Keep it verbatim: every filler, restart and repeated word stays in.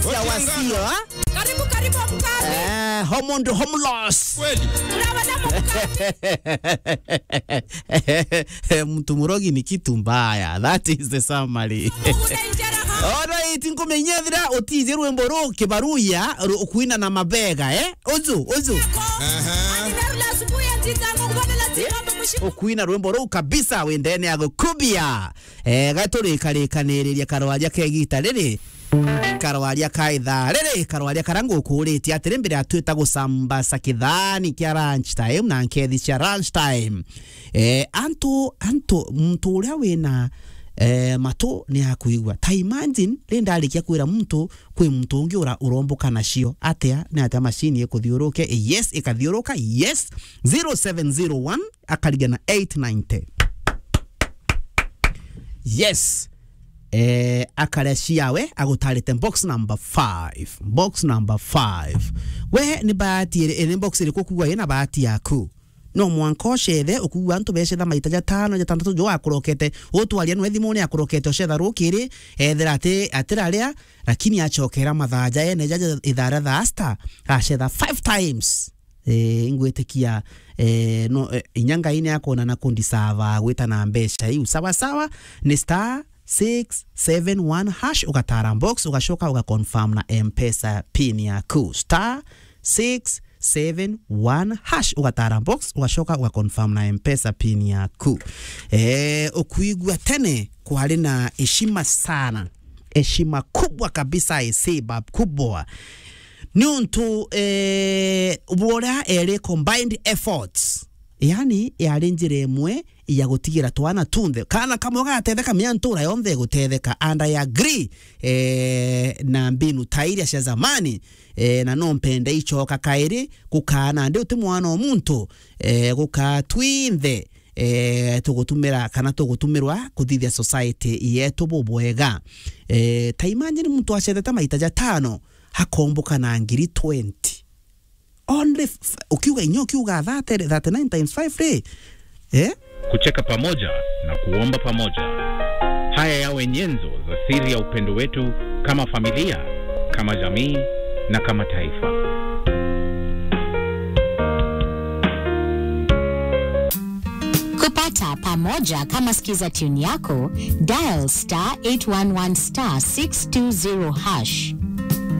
Cia wasio, ha? Karibu, karibu, mkazi. Eh, homo ndo homeless. Kweli. Tunabana mkazi. Mtu murogi ni kitu mbaya. That is the summary. Unainjera ha? Alright, nkumenyethira utije rwimbo ru kibaruya ru-, ukuina na mabega, eh? Uju, uju. Aha. Ani narula asubuhi ya ntita, ngo kubona la tiba, mbushi. Ukuina rwimbo ru kabisa, wendene ya gukubia. Eh, gaturikarikaniriria karwaria ka igita riri. Karwaria ka ithaa riri, karwaria karia ngukuritie atiri mbere ya twita gucambasa kithani kia lunch time na nkethi cia lunch time. Eh, antu, antu, muntu uria wina, eh, matu ni akwigua. Ta imagine, ri ndarikia kwira muntu, kwi muntu ungi ura-, uromboka nacio. Atia? Ni atia machine ikuthiuruke? Yes, ikathiuruka. Yes. Zero seven zero one, akariga na eight ninety. Yes. Eh, akaria ciawe, agutarite box number five. Box number five. We, ni bahati iri-, ni box iriku ukuigua ina bahati yaku? No mwanka ucethe, ukuigua antu becetha maita jatano, jatantatu, jo akurokete. Utwaria nwe thimuni akurokete, ucetha rukiri, ethira ati, atiraria, lakini acokera mathaa ja ene ja, ja ithaa ria thaa sita, acetha five times. Eh, ingwitikia, eh, no, eh, inya Ngai ni akwona na kundisava gwita na mbeca iu. Sawa sawa, ni star six seven one hash, ugatara box, ugacoka ugaconfirm na M-Pesa pin yaku. Star six seven one hash, ugatara box, ugacoka ugaconfirm na M-Pesa pin yaku. Eh, ukuigua tene kwari na heshima sana. Heshima kubwa kabisa, heshima kubwa. Niuntu, eh, bwa uria eri combined efforts. Yani, yari njira imwe ya gutigira twana tunthe. Kana kamwe gagatetheka, mea ntura yonthe igutetheka. And I agree, eh, na mbinu ta iria cia zamani, eh, na no mpende icoka kairi, gukaa nandi uti mwana o muntu, eh, gukaa twinthe, eh, tugutumira kana tugutumirwa kuthithia society yetu bubwega. Eh, ta imagine muntu acethete maita jatano, akomboka na ngiri twenty. Only f-, f-, ukiuga inya, ukiuga thirty, thirty-nine times five ri, eh? Kucheka pamoja na kuomba pamoja. Haya yawe nyenzo za siri ya upendo wetu kama familia, kama jamii na kama taifa. Kupata pamoja kama Skiza tune yako, dial star eight one one star six two zero hash.